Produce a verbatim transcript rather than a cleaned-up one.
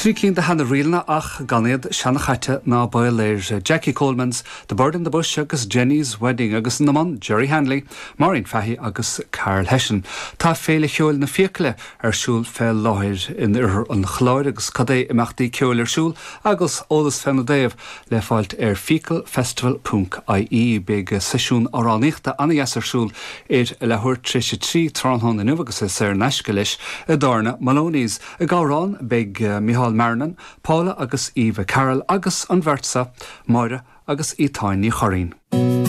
Trí cinn de sheana-ríleanna ach gan iad seanchaite ná baol air Jackie Coleman's The Bird in the Bush agus Jenny's Wedding agus ina mbun Jerry Hanley, Maureen Fahy agus Karl Hession. Tá Féile Cheoil na Fiacaile ar siúl fé láthair in oirthear an Chláir agus cad é imeachtaí ceoil ar siúl agus eolas fena dtaobh le fáilt ar fiacalfestival.ie beidh seisiún amhránaíochta an-deas ar siúl ar a leathuair tar éis a trí tráthnóna inniu agus é saor in aisce leis i dtábhairne Maloney's. Ag amhrán beidh Micheál Marrinan, Paula agus Eva Carroll agus an bheirt seo Máire agus Etáin Ní Churraoin.